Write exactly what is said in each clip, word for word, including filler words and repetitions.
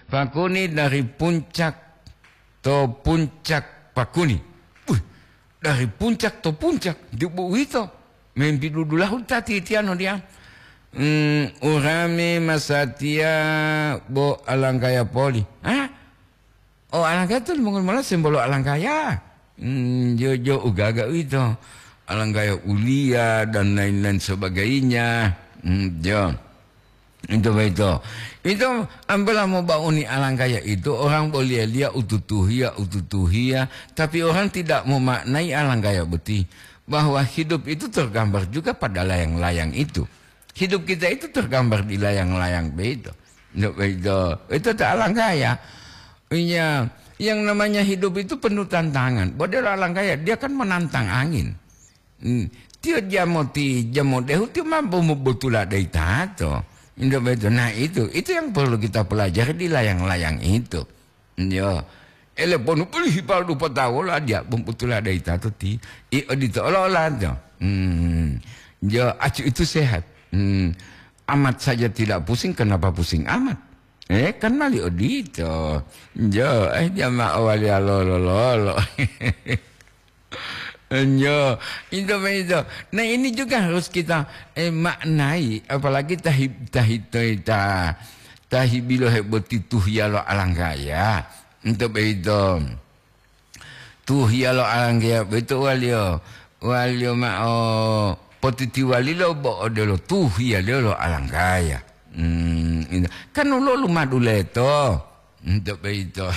Pakuni dari puncak to puncak pakuni. Wih, dari puncak to puncak, dibu uwito, membi dudulahu ta titiano diya. Hmm, urame masatiya bo alanggaya poli. Hah? Oh, alanggaya to limongoli mola sembolo alanggaya. Hmm, jo, jo ugaga uwito. Alanggaya uliya dan lain-lain sebagainya. Hmm, jo. Itu begitu. Itu ambola mau bauni alanggaya itu, orang boleh lihat ututuhia, ututuhia, tapi orang tidak memaknai alanggaya boti, bahwa hidup itu tergambar juga pada layang-layang itu. Hidup kita itu tergambar di layang-layang begitu. Itu begitu. Itu tak alanggaya. Iya, yang namanya hidup itu penuh tantangan. Bodelo alanggaya, dia kan menantang angin. Hmm. Tiyo jamo ti, jamo dehu tiyo mampu mobotula dai tato. Indak beto. Nah, itu, itu yang perlu kita pelajari di layang-layang itu. Yo. Ele ponu pulih palu dupa tawola dia mobotula dai tato ti. I odito ola-ola to. Hmm. Yo, acu itu sehat. Hmm. Amat saja tidak pusing, kenapa pusing amat? Eh, kan mali odito. Jo, eh, jamaah wali lolo-lolo. Nyo, itu begitu. Nah, ini juga harus kita, eh, maknai, apalagi tahi-, tahi-, ta-, ta-, tahibilohe boti tuhiya lo alanggaya. Itu begitu. Tuhiya lo alanggaya boyito waliyo, waliyo mao potitiwalilo bo odelo tuhiyaliyo lo alanggaya. Hmm, itu. Kan woluwo lumadu leto. Untuk boyito.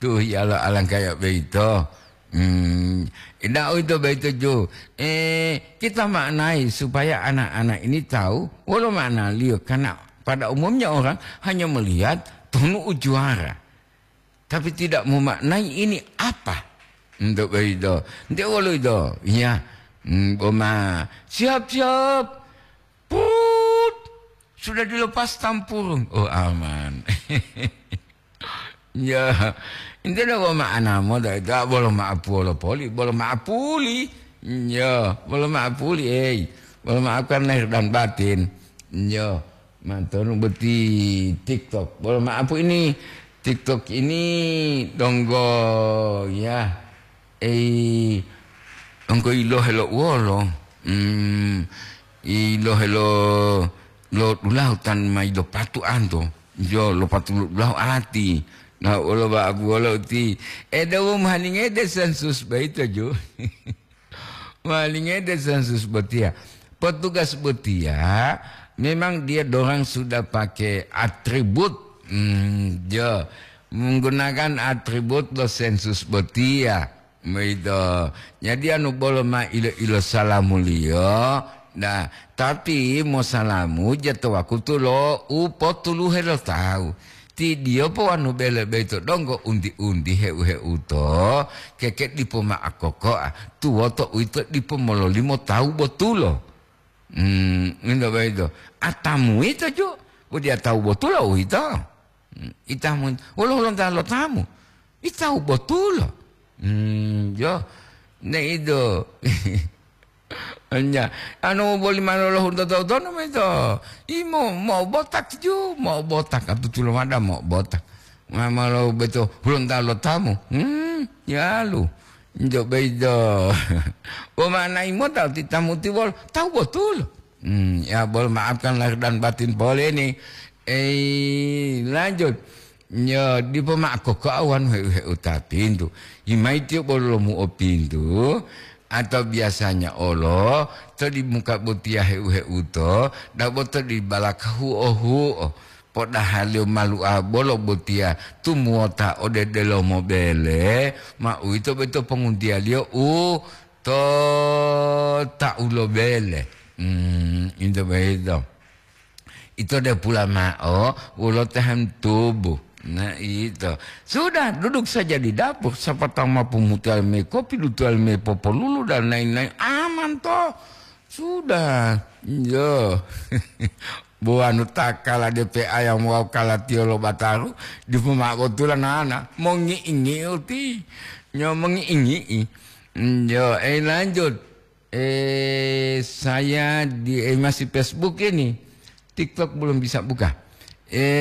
Tuhiya lo alanggaya boyito. Hmm, tidak itu boyito ju. Eh, kita maknai supaya anak-anak ini tahu wolo maknaliyo. Karena pada umumnya orang hanya melihat tonu ujuara. Tapi tidak memaknai ini apa. Untuk boyito. Nte wolo ito. Iya. Hmm, boma. Siap-siap. Put. Sudah dilepas tampurung. Oh, aman. Ya. Nte wolo ma'ana moda ito. Ah, bolo ma'apuwolo poli. Bolo ma'apuli. Ya. Bolo ma'apuli, eh. Bolo maafkan lahir dan batin. Ya. Mantonu boti TikTok. Bolo maaf ini TikTok ini donggo ya. Eh, donggo ilohe lo uwolo. Hmm, ilohe lo, lo dulahu tan mai lo patu anto. Jo lo patu lo dulahu ati. Nah, wolo ba abu wolo ti. Eh, dawu mahalingede sensus baito jo. Walingede sensus botiya. Petugas botiya memang dia dorang sudah pakai atribut, hmm, jo, menggunakan atribut lo sensus botiya. Begitu. Jadi anu bolo ma ilo-ilo salamuliyo. Nah, tapi mosalamu ja to wakutu lo u potuluhe lo tawu. Ti diyopo wanu bele boyito donggo unti-unti heu-heuto, keke dipo ma'o kokoa, tuwoto uwito dipo mololimo tawu botulo. Hmm, ngointo boyito. Atamu yito ju, bo diya tawu botulo uwito. Hmm, itamu, wolo hulonta lo tamu? Itawu botulo. Hmm, jo, ne ido. Enya, anu boli manu lo hunto tau tonu mento. Imo, mo botak ju, mo botak, atu tulo mada mo botak. Mama lo beto hulonta lo tamu. Hmm, yalu. Njo beido. Bo mana imo tau ti tamu ti bol, tawu botul. Hmm, ya bol maafkan lahir dan batin pole ni. Eh, lanjut. Nyo, dipo ma'o kokoa wanu heu-heuta pintu. Yimai tiyo bolo lomu'o pintu, atau biasanya olo to di muka botiya heu-heuto, dabo to di balaka huo-huo. Podahaliyo malu'a bolo botiya tumuwota ode delomo bele, ma uwito boyito ponguntiyaliyo u to tau lo bele. Hmm, ito boyito. Ito depula ma'o wolo tahan tubuh. Nah, ito. Sudah, duduk saja di dapur. Siapa tahu mampu mutual me kopi, dutual me popolulu, dan lain-lain. Aman, toh. Sudah. Yo. Buwanu takala D P A yang mau kala tiolo bataru, di pemabotula nana. Mongi-ingi uti. Nyo mongi-ingi. Yo, eh, lanjut. Eh, saya di, eh, masih Facebook ini. TikTok belum bisa buka. Eh,